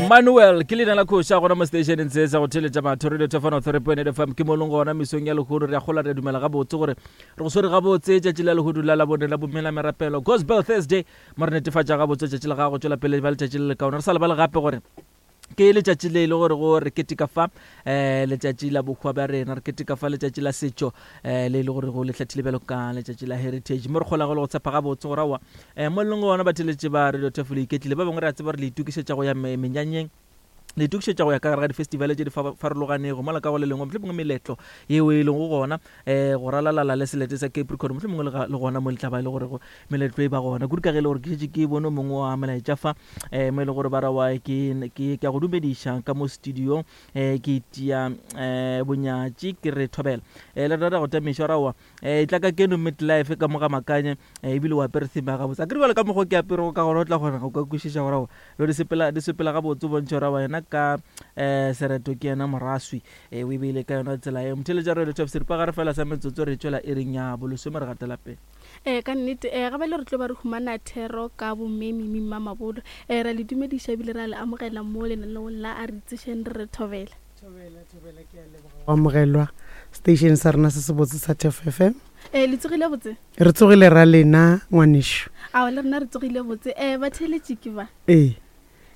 Manuel ke leina la kgoši a gona mo stationeng se sa go theletša batho radio thefano 3.8 fm ke mo leng gona mesong ya lehono re a gola re dumela gabotse gore re go swere gabotse tšatši la lehodu la labone la bomela merapelo gospel thursday mo re netefatša gabotse tšatši la gago tšwela pele ba letšatši le lekaone re sa lebale gape gore ke letšatši le e le gore go re keteka fa um letšatši la bohwa bja rena re keteka fa letšatši la setšo um le e le gore go le hlathile bjalo ka letšatši la heritage mo re kgolago le go tshepa gabotse gore aowa um mo e leng gona batheletše ba radio tefo le iketlile ba bangwe re a tseba gore le itokišetša go ya menyanyeng le itokišetša go ya ka gare ga difestivale tše di farologanego mola ka go le lengwe mohlomongwe meletlo yeo e lego gona um go ralalala le selete sa capricorn mohlomongwe le gona mo le tla ba e le gore meletlo e ba gona kudu ka ge e le gore ke šetše ke bone mongwe wa melaetša fa um mo e le gore ba ra wa ke ke a go dumediša ka mo studio um ke itia um bonyatši ke re thobela um le rata go tamišwa raowa um tla ka keno midlife ka mo ga makanye um ebile o apere theme ya gabotse a ke re bjale ka mokgwa ke aperego ka gona o tla kgona go ka kwešiša gore aowa lo di sepela di sepela gabotse o bontšhe gore aowa yena ka um sereto ke yena moraswi um o e beile ka yona tsela eo motheletša radio top seripagare fela sa metsotso re tšwela iring ya bolesome re gatela pele Ee, ka nnete. Ee, ga bjale re tlo ba re humana thero ka bomme Mimi Mmamabolo. Ee, ra le dumediša ebile ra le amogela mo lenaneong la A Re Itsešeng Re Re Thobela. Thobela, thobela, ke a leboga go amogelwa station sa rena se sebotse sa Turf FM. Ee, le tsogile botse? Re tsogile ra lena ngwanešu. Ao, le rena re tsogile botse. Ee, batheeletši ke ba. Ee.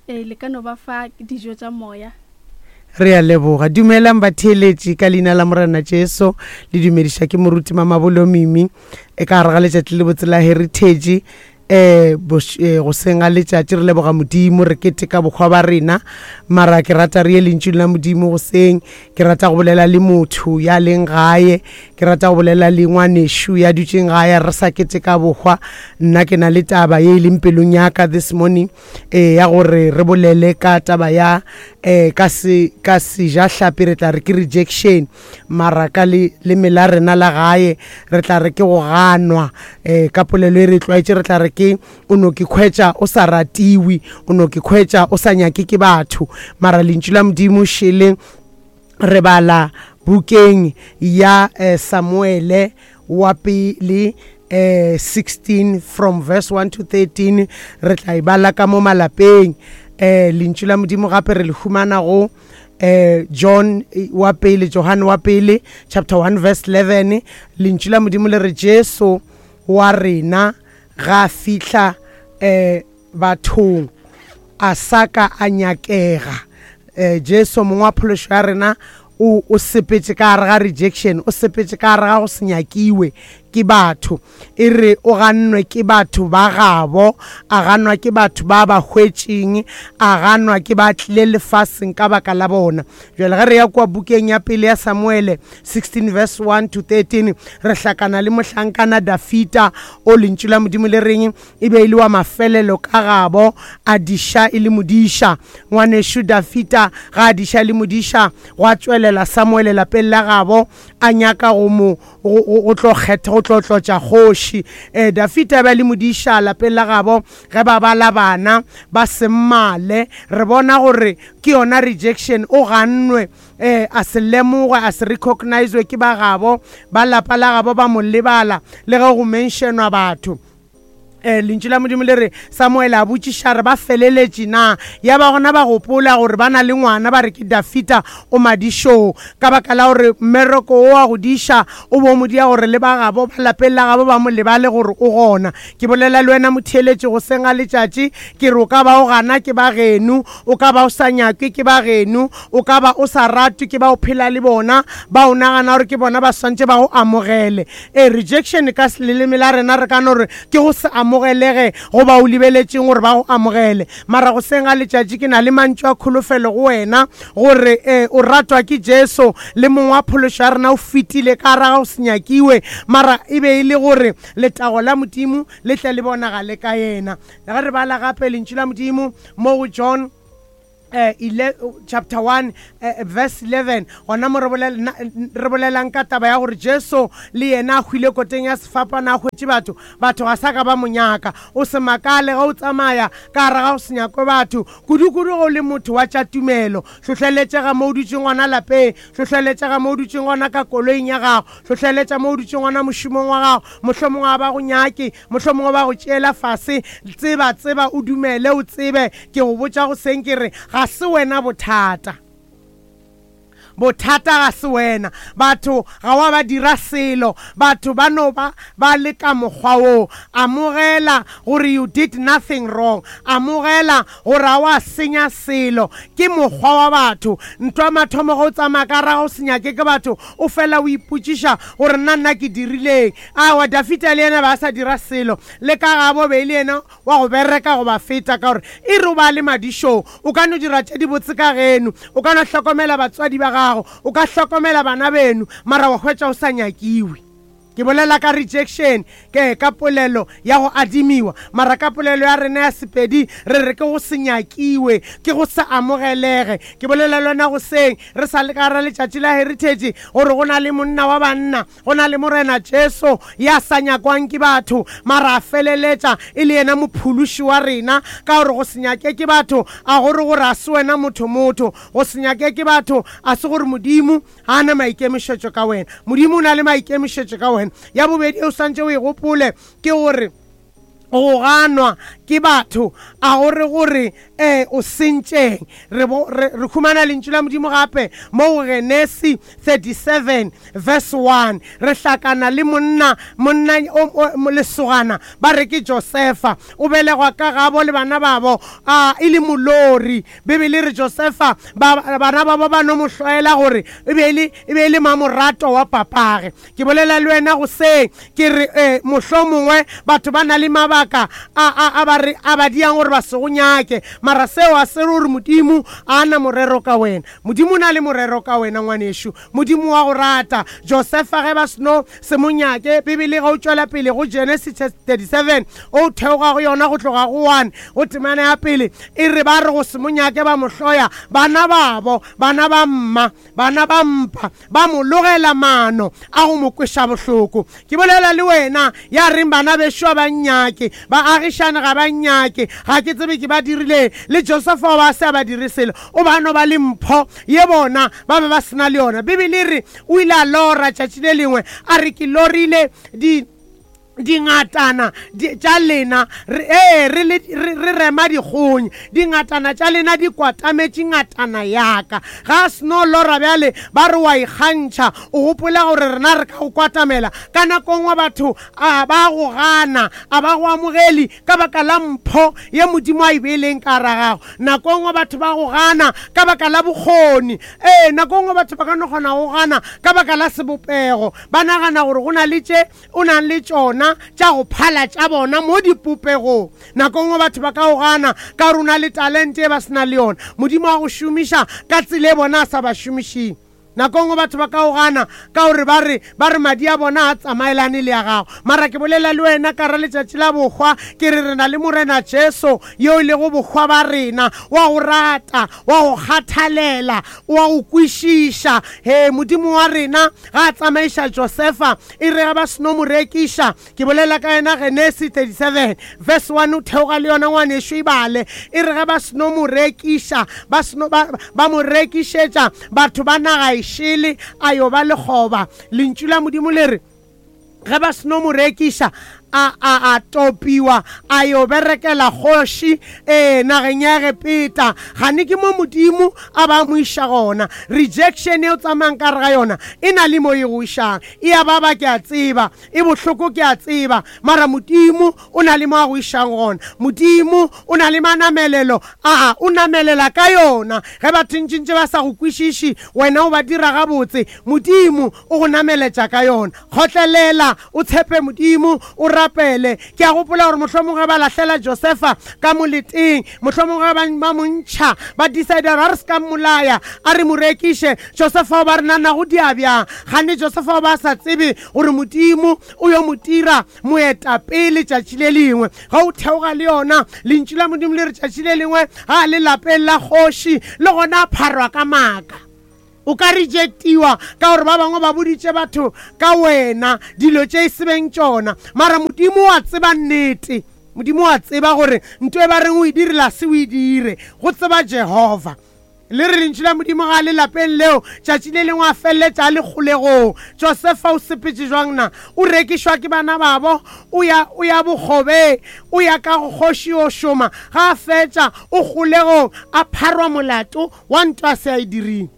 Ee, le ka no ba fa dijo tša moya. Re a leboga. Dumelang batheeletši ka leina la Morena Jesu. Le dumediša ke moruti Mamabolo Mimi e ka gare ga letšatši le botse la Heritage. Eh, goseng ga letšatši re leboga Modimo, re keteka bohwa ba rena. Mara ke rata re ye lentšung la Modimo goseng. Ke rata go bolela le motho ya leng gae. Ke rata go bolela le ngwanešu ya dutšeng gae re sa keteka bohwa. Nna ke na le taba ye e leng pelong ya ka this morning. e ya gore re bolele ka taba ya um ka se ka sejahlapi re tla re ke rejection mara ka le leme la rena la gae re tla re ke go ganwa um ka polelo e re tlwaetše re tla re ke o no ke khwetša o sa ratiwe o no ke khwetša o sa nyake ke batho mara lentšu la modimo šele Re bala bukeng ya Samuele wa pele 16 from verse 1 to 13 re tla e bala ka mo malapeng. Lentšu la Modimo gape re le humana go John wa pele, Johane wa pele chapter 1 verse 11. Lentšu la Modimo le re Jesu wa rena ga fihla bathong a sa ka a nyakega. Jesu mong wa phološo ya rena o, o sepetše ka gare ga rejection, o sepetše ka gare ga go se nyakiwe ke batho. E re o gannwe ke batho ba gabo, a ganwa ke batho ba ba hwetšeng, a ganwa ke ba tlile lefaseng ka baka la bona. Bjale ge re ya kua bukeng ya pele ya Samuele 16 verse 1 to 13, re hlakana le mohlankana Dafita, o lentšu la Modimo le reng E be e le wa mafelelo ka gabo, a diša e le modiša. Ngwanešu Dafida ga a diša e le modiša, gwa tšwelela Samuele lapeng la gabo, a nyaka go mo, go, go, go tlo kgetha, go tlo tlotša kgoši. E, Dafida e be a le modiša lapeng la gabo, ge ba bala bana ba semmale. Re bona gore ke yona rejection, o gannwe. E, a se lemogwe, a se recognizwe ke ba gabo, ba lapa la gabo ba mo lebala, le ge go mentionwa batho. Eh, lentšu la modimo le re samuele a botšiša re ba feleletše na ya ba gona ba gopola gore ba na le ngwana ba re ke dafita o madišong ka baka la gore mmereko o wa go diša o bo mo dia gore le ba gabo ba lapeng la gabo ba mo lebale gore o gona ke bolela le wena motheeletši go seng ga letšatši ke re o ka ba o gana ke ba geno o ka ba o sa nyakwe ke ba geno o ka ba o sa ratwe ke ba o phela le bona ba o nagana gore ke bona ba swantše ba go amogele Ee, rejection ka leleme la rena re ka no re ke go se amogelege go ba o lebeletšeng gore ba go amogele. Mara goseng ga letšatši ke na le mantšu a kholofelo go wena gore ee, o ratwa ke Jesu le Mong wa phološo ya rena o fetile ka gare ga go se nyakiwe, mara e be e le gore letago la Modimo le tle le bonagale ka yena. Ge re bala gape lentšu la Modimo mo go John eh, ile, chapter 1 eh, verse 11 gona mo re bolelang ka taba ya gore jesu le yena a hwile koteng ya sefapano a hwetše batho batho ga sa ka ba monyaka o se makale ge o tsamaya ka gare ga go se nyakwe batho kudu-kudu ge o le motho wa tša tumelo hlohleletšega mo o dutšeng gona lapeng hlohleletšega mo o dutšeng gona ka koloing ya gago hlohleletša mo o dutšeng gona mošomong wa gago mohlomongwe ga ba go nyake mohlomongwe ba go tšeela fase tseba tseba o dumele o tsebe Ke go botša goseng ke re, ga Ga se wena bothata. Bothata ga se wena. Batho ga wa ba dira selo. Batho ba no ba ba le ka mokgwa woo. Amogela gore you did nothing wrong. Amogela gore ga wa senya selo. Ke mokgwa wa batho. Ntwa mathomo ge o tsamaya ka raga o se nyake ke batho, o fela o ipotšiša gore nna nna ke dirileng. Aowa, Dafida le yena be a sa dira selo. Le ka gabo be e le yena wa go bereka go ba feta ka gore e re o ba le madišong o ka no dira tše dibotse ka geno, o ka no hlokomela batswadi ba gago, o ka hlokomela bana beno, mara wa hwetša o sa nyakiwe. Ke bolela ka rejection, ke ka polelo ya go adimiwa, mara ka polelo ya rena ya Sepedi re re ke go se nyakiwe, ke go se amogelege. Ke bolela le wena goseng re sa le ka gara letšatši la Heritage gore go na le monna wa banna Go na le Morena Jesu ya sa nyakwang ke batho, mara a feleletša e le yena Mophološi wa rena. Ka gore go se nyake ke batho a go re gore a se wena motho-motho. Go se nyake ke batho a se gore Modimo ga a na maikemišetšo ka wena. Modimo o na le maikemišetšo ka wena. Ya bobedi e o swantše o e gopole ke gore go ganwa ke batho a go re gore um o sentšeng. Re, bo, re, re humana lentšu la Modimo gape mo go Genesi 37 verse 1. Re hlakana le monna, monna o, o, lesogana ba re ke Josefa. O belegwa ka gabo le bana babo a e le molori. Bibele e re Josefa, ba, bana babo ba no mo hloela gore e be e le, e be e le mamorato wa papage. Ke bolela le wena goseng, ke re, e, mohlomongwe batho ba na le mabaka a, a, a ba re, a ba diang gore ba se go nyake, mara seo ga se re gore Modimo ga a na morero ka wena. Modimo o na le morero ka wena, ngwanešu. Modimo wa go rata. Josefa, ge ba seno se mo nyake, Bibele ge o tšwela pele go Genesis 37, o theoga go yona go tloga go 1, go temana ya pele, e re ba re go se mo nyake ba mo hloya, bana babo, bana ba mma, Bana ba mpa ba mo logela maano a go mo kweša bohloko. Ke bolela le wena ya reng bana bešo ga ba nnyake, baagišane ga ba nnyake, ga ke tsebe ke ba dirileng. Le Josefa o ba a se a ba dire selo, o ba no ba le mpho ye bona ba be ba se na le yona. Bibele e re o ile a lora tšatši le lengwe, a re ke lorile di. Dingatana tša lena, re, ee, re, le, re, re rema dikgong. Dingatana tša lena di kwatametše ngatana ya ka. Ga a seno lora bjale, ba re o a ikgantšha, o gopola gore rena re ka go kwatamela. Ka nako nngwe batho a ba go gana, a ba go amogele ka baka la mpho ye Modimo a e beileng ka gara gago. Nako nngwe batho ba go gana ka baka la bokgoni. Ee, nako nngwe batho ba ka no kgona go gana ka baka la sebopego. Ba nagana gore go na le tše o nang le tšona tša go phala tša bona mo dipopegong. Nako nngwe batho ba ka o gana ka gore o na le talente e ba se na le yona. Modimo a go šomiša ka tsela e bona a sa ba šomišeng. Nako nngwe batho ba ka o gana ka gore ba re ba re madi a bona a tsamaelane le ya gago. Mara ke bolela le wena ka ra letšatši la bohwa, ke re re na le Morena Jesu yo e lego bohwa ba rena, wa go rata, wa go kgathalela, wa go kwešiša. He, Modimo wa rena ga a tsamaiša Josefa, E re ge ba seno mo rekiša, ke bolela ka yena Genesi 37 verse 1 o theoga le yona ngwanešu e bale. E re ge ba seno mo rekiša, ba seno ba, ba mo rekišetša batho ba naga e šele, a yo ba lekgoba. Lentšu la Modimo le re, ge ba seno mo rekiša, a, a, a topiwa, a yo berekela kgoši, ee, nageng ya Egepeta. Gane ke mo Modimo a ba mo iša gona. Rejection e o tsamayang ka gare ga yona e na le mo e go išang. E a baba ke a tseba, e bohloko ke a tseba, mara Modimo o na le mo a go išang gona. Modimo o na le manamelelo, aa, o namelela ka yona. Ge batho ntšintši ba sa go kwešiši, wena o ba dira gabotse, Modimo o go nameletša ka yona. Kgotlelela, o tshepe Modimo, o rapele. Ke a gopola gore mohlomongwe ge ba lahlela Josefa ka moleteng, mohlomongwe ge ba, ba mo ntšha, ba decide gore a re se ka mmolaya, a re mo rekiše. Josefa o ba re nana go dia bjang? Gane Josefa o ba a sa tsebe gore Modimo o yo mo dira moetapele tšatši le lengwe. Ge o theoga le yona, Lentšu la Modimo le re tšatši le lengwe ga a le lapeng la kgoši, le gona a pharwa ka maaka. O ka rejectiwa ka gore ba bangwe ba boditše batho ka wena dilo tše e se beng tšona. Mara Modimo wa tseba nnete. Modimo wa tseba gore nto e ba reng o e dirile a se o e dire. Go tseba Jehova. Le re Lentšu la Modimo ga le lapeng leo, tšatši le lengwe a feleletša a le kgolegong. Josefa o sepetše jwang na? O rekišwa ke bana babo, o ya, o ya bokgobeng, o ya ka go kgoši yo šoma. Ga a fetša, o kgolegong, a pharwa molato wa nto a se a e diring.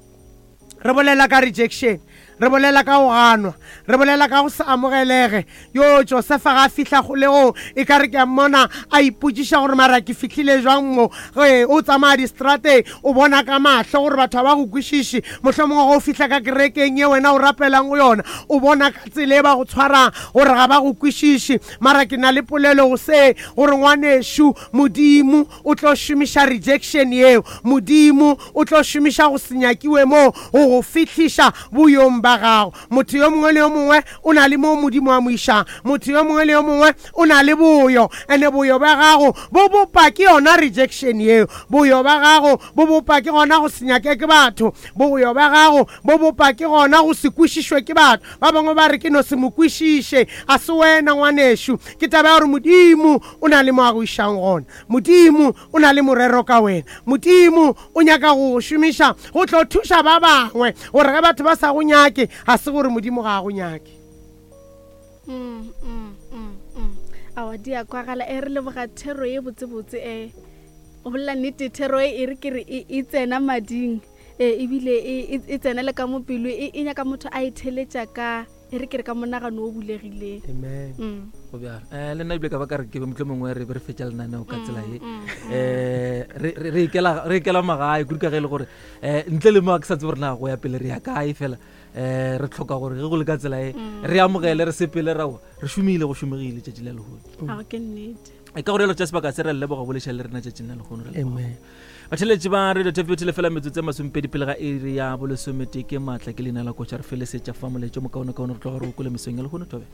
Re bolela ka rejection, re bolela ka go ganwa, re bolela ka go se amogelege. Yo, Josefa ga a fihla kgolegong, e ka re ke a mmona a ipotšiša gore mara ke fihlile jwang mo. Ge o tsamaya distrateng, o bona ka mahlo gore batho ga ba go kwešiše. Mohlomongwe ge o fihla ka kerekeng ye wena o rapelang go yona, o bona ka tsela e ba go tshwarang gore ga ba go kwešiše. Mara ke na le polelo go se, gore ngwanešu, Modimo o tlo šomiša rejection yeo. Modimo o tlo šomiša go se nyakiwe moo go go fihliša boyong ba gago. Motho yo mongwe le yo mongwe o na le moo Modimo a mo išang. Motho yo mongwe le yo mongwe o na le boyo, ene boyo bja gago bo bopa ke yona rejection yeo. Boyo bja gago bo bopa ke gona go se nyake ke batho. Boyo bja gago bo bopa ke gona go se kwešišwe ke batho. Ba bangwe ba re ke no se mo kwešiše. A se wena ngwanešu. Ke taba ya gore Modimo o na le mo a go išang gona. Modimo o na le morero ka wena. Modimo o nyaka go go šomiša go tlo thuša ba bangwe, gore ge batho ba sa go nyake, ga se gore Modimo ga a go nyake. Mm, mm, mm, mm. Awa di a kwagala. E re leboga thero ye botsebotse. E o bolela nnete, thero e e re ke re e, e tsena mading e ebile e, e, e tsena le ka mo pelo, e, e nyaka motho a e theletša ka e re ke re ka monagano o bulegileng. Amen. Go bjalo. Le nna ebile ka ba ka re ke be motlho mongwe re be re fetša lenaneo ka tsela ye. Re ikela magae kudu ka ge e le gore um ntle le mo ke sa tsebe gore na go ya pele re ya kae, fela um re tlhoka gore ge go le ka tsela e re amogele, re sepele, rawa re šomile, go šomegile tšatši la lehono. Ao ke nnete. E ka gore jalo tša sebaka se re leboga boleša le rena tšatšing la lehono. Re leboga. Amen. Batheletši ba Radio Tefete lefela metsotso e masomepedi pele ga iri ya bolesometee. Ke maatla ke leina la koša, re felesetša fa moletšo mokaonekaone re tloga re o kwele mesong ya lehono. Thobe.